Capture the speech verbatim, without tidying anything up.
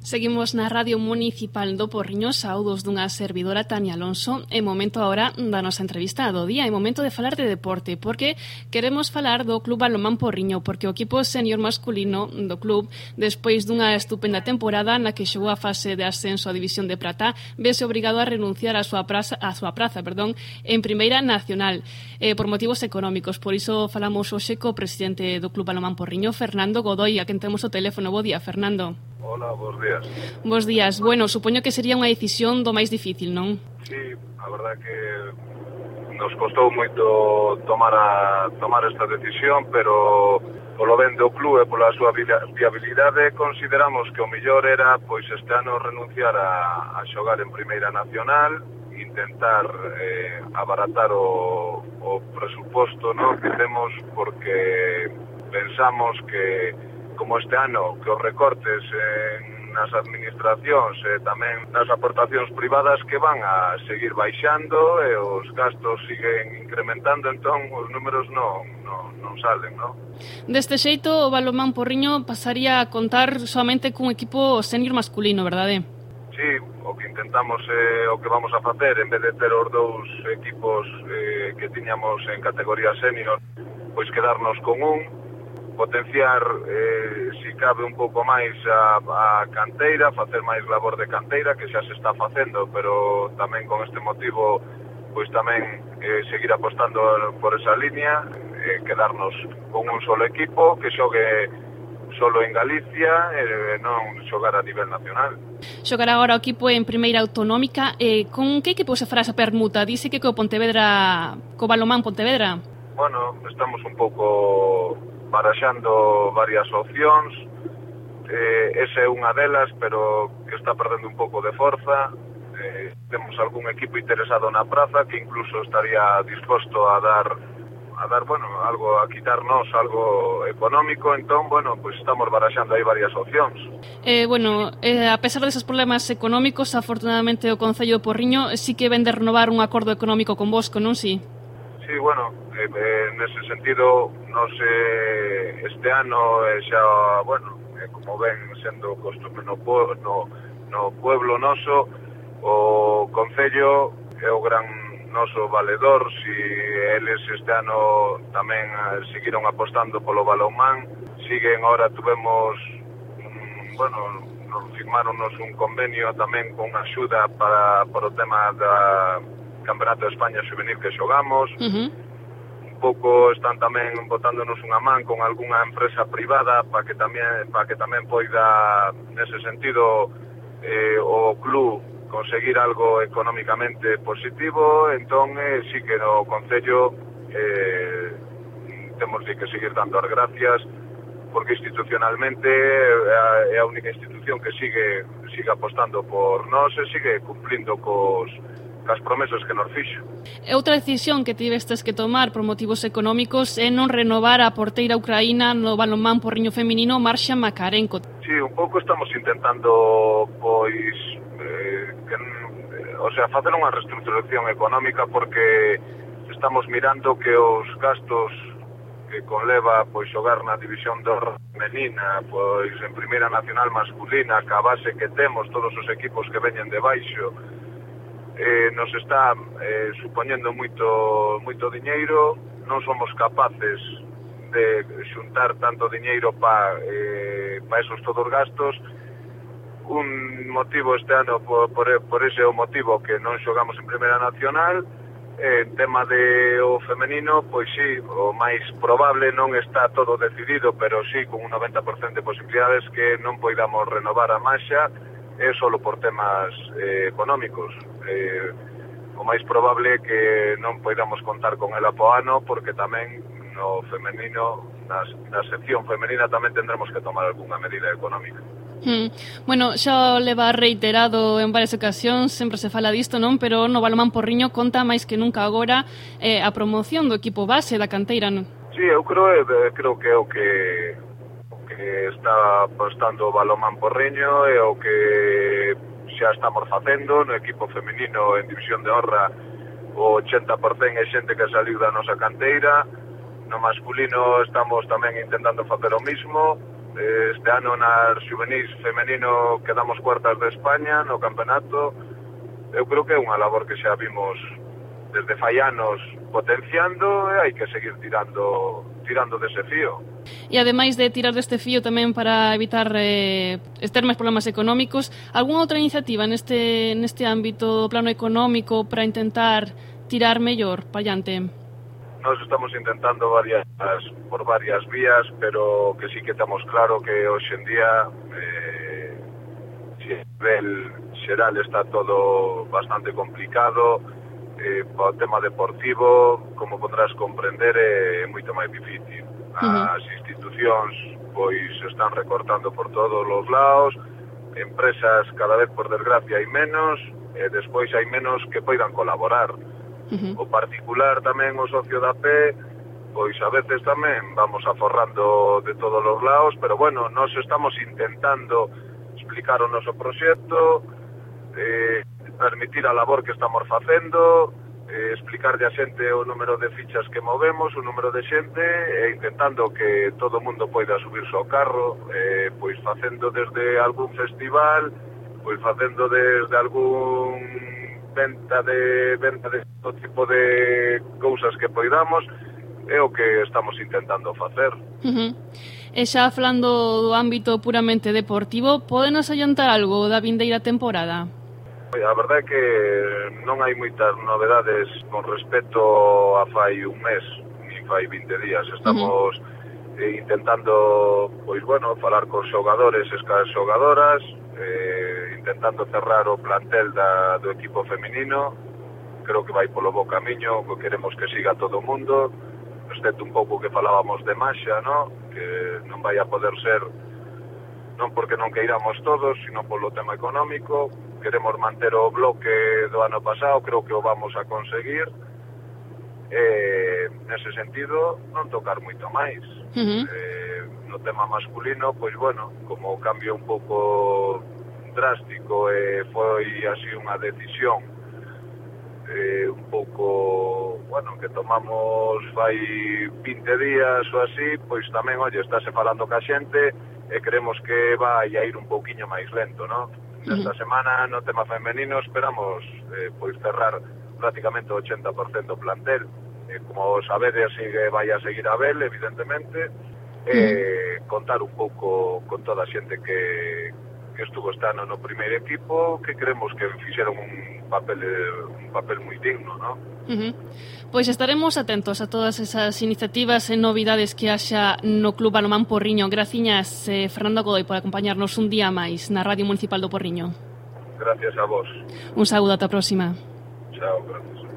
Seguimos na Radio Municipal do Porriño, saúdos dunha servidora Tania Alonso. É momento agora da nosa entrevista do día, é momento de falar de deporte, porque queremos falar do Club Balonmán Porriño, porque o equipo senior masculino do club, despois dunha estupenda temporada na que xogou a fase de ascenso á División de Prata, vese obrigado a renunciar a súa praza, a súa praza, perdón, en Primeira Nacional, eh, por motivos económicos. Por iso falamos hoxe co presidente do Club Balonmán Porriño, Fernando Godoy, a quen temos o teléfono. Bo día, Fernando. Hola, bos días. Bos días. Bueno, supoño que sería unha decisión do máis difícil, non? Sí, a verdad que nos costou moito tomar a tomar esta decisión, pero polo ben do club e pola súa viabilidade consideramos que o mellor era pois este ano renunciar a, a xogar en Primeira Nacional, intentar eh, abaratar o, o presuposto, ¿no?, que temos, porque pensamos que como este ano que os recortes en nas administracións e tamén nas aportacións privadas que van a seguir baixando e os gastos siguen incrementando, entón os números non, non, non salen, non? Deste xeito o Balonmán Porriño pasaría a contar solamente cun equipo senior masculino, verdade? Sí, o que intentamos é eh, o que vamos a facer, en vez de ter os dous equipos eh, que tiñamos en categoría senior, pois quedarnos con un, potenciar, eh, si cabe un pouco máis a, a canteira, facer máis labor de canteira, que xa se está facendo, pero tamén con este motivo, pois tamén eh, seguir apostando por esa línea, eh, quedarnos con un solo equipo, que xogue solo en Galicia e eh, non xogar a nivel nacional. Xogar agora o equipo en Primeira Autonómica, eh, con que equipo se fará esa permuta? Dice que co Pontevedra, co Balonmán Pontevedra? Bueno, estamos un pouco baraxando varias opcións, eh, esa é unha delas, pero que está perdendo un pouco de forza. Eh, temos algún equipo interesado na praza que incluso estaría disposto a dar, a dar, bueno, algo, a quitarnos algo económico, entón, bueno, pues estamos baraxando aí varias opcións. Eh, bueno, eh, a pesar deses problemas económicos, afortunadamente o Concello de Porriño sí que ven de renovar un acordo económico con Bosco, non si? Sí, bueno, eh, eh, nese sentido, nos eh, este ano eh, xa, bueno, eh, como ven sendo costume no, no, no pueblo noso, o Concello é o gran noso valedor. Si eles este ano tamén eh, seguiron apostando polo balonmán, siguen, ahora tuvemos, mm, bueno, nos firmaronos un convenio tamén con axuda para, para o tema da Campeonato de España Juvenil que xogamos. Uh-huh. Un pouco están tamén botándonos unha man con algunha empresa privada para que tamén para que tamén poida nese sentido eh, o club conseguir algo económicamente positivo. Entón eh, sí que no Concello eh, temos de que seguir dando as gracias, porque institucionalmente é a única institución que sigue sigue apostando por nós e sigue cumplindo cos as promesas que nos fixo. E outra decisión que tivestes que tomar por motivos económicos é non renovar a porteira ucraína no Balonmán Porriño feminino, Marxa Makarenko. Sí, un pouco estamos intentando, pois, eh, que, o sea, facer unha reestructuración económica, porque estamos mirando que os gastos que conleva pois xogar na división de honra femenina, pois en Primeira Nacional masculina, que a base que temos todos os equipos que veñen de baixo, Eh, nos está eh, supoñendo moito moito diñeiro, non somos capaces de xuntar tanto diñeiro para eh, pa esos todos gastos. Un motivo este ano, por, por, por ese o motivo que non xogamos en Primeira Nacional. Eh, en tema de o femenino, pois sí, o máis probable, non está todo decidido, pero sí con un noventa por cento de posibilidades que non poidamos renovar a Marxa, é solo por temas eh, económicos. Eh, o máis probable é que non poidamos contar con ela po ano, porque tamén no femenino, na, na sección femenina tamén tendremos que tomar algunha medida económica. Hmm. Bueno, xa leva reiterado en varias ocasións, sempre se fala disto, non? Pero no Balonmán Porriño conta máis que nunca agora eh, a promoción do equipo base da canteira, non? Sí, eu creo, eh, creo que é o que que está apostando o Balonmán Porriño e o que xa estamos facendo no equipo femenino en división de honra. O ochenta por cento é xente que saliu da nosa canteira. No masculino estamos tamén intentando facer o mismo. este ano nas juvenis femenino quedamos cuartas de España no campeonato. Eu creo que é unha labor que xa vimos desde fai anos potenciando e hai que seguir tirando tirando dese fío. E ademais de tirar deste fío tamén para evitar eh, ter máis problemas económicos, algunha outra iniciativa neste neste ámbito plano económico para intentar tirar mellor para adiante? Nós estamos intentando varias por varias vías, pero que sí que estamos claro que hoxe en día eh, si a nivel xeral está todo bastante complicado. Eh, o tema deportivo, como podrás comprender, é moito máis difícil. As institucións pois están recortando por todos os lados, empresas cada vez por desgracia hai menos, e despois hai menos que poidan colaborar. Uh-huh. O particular tamén, o socio da pé, pois a veces tamén vamos aforrando de todos os lados, pero bueno, nós estamos intentando explicar o noso proxecto, eh, permitir a labor que estamos facendo, eh, explicarlle a xente o número de fichas que movemos, o número de xente, e intentando que todo o mundo poida subirse ao carro, eh, pois facendo desde algún festival, pois facendo desde algún venta de venta de todo tipo de cousas que poidamos, é o que estamos intentando facer. Uh-huh. E xa falando do ámbito puramente deportivo, pódenos adiantar algo da vindeira temporada? A verdade é que non hai moitas novedades con respecto a fai un mes, ni fai vinte días. Estamos uh-huh. eh, intentando, pois bueno, falar con xogadores e cas xogadoras, eh, intentando cerrar o plantel da, do equipo feminino. Creo que vai polo bo camiño, que queremos que siga todo o mundo, excepto un pouco que falábamos de Maxa, ¿no? Que non vai a poder ser, non porque non queiramos todos, sino polo tema económico. Queremos manter o bloque do ano pasado, creo que o vamos a conseguir. Eh, nese sentido, non tocar moito máis. Uh-huh. Eh, no tema masculino, pois bueno, como o cambio un pouco drástico e eh, foi así unha decisión eh, un pouco, bueno, que tomamos fai vinte días ou así, pois tamén, oye, estáse falando ca xente e queremos que vai a ir un pouquiño máis lento, ¿no? Esta semana no tema femenino esperamos eh, pois cerrar prácticamente o ochenta por cento do plantel. Eh, como sabedes, sigue, vai a seguir a Abel, evidentemente, eh, contar un pouco con toda a xente que, que estuvo este ano no primeiro equipo, que creemos que fixeron un papel un papel moi digno, ¿no? Uh-huh. Pois estaremos atentos a todas esas iniciativas e novidades que haxa no Club Balonmán Porriño. Graciñas, eh, Fernando Godoy, por acompañarnos un día máis na Radio Municipal do Porriño. Gracias a vos. Un saúdo, ata a próxima. Chao, gracias.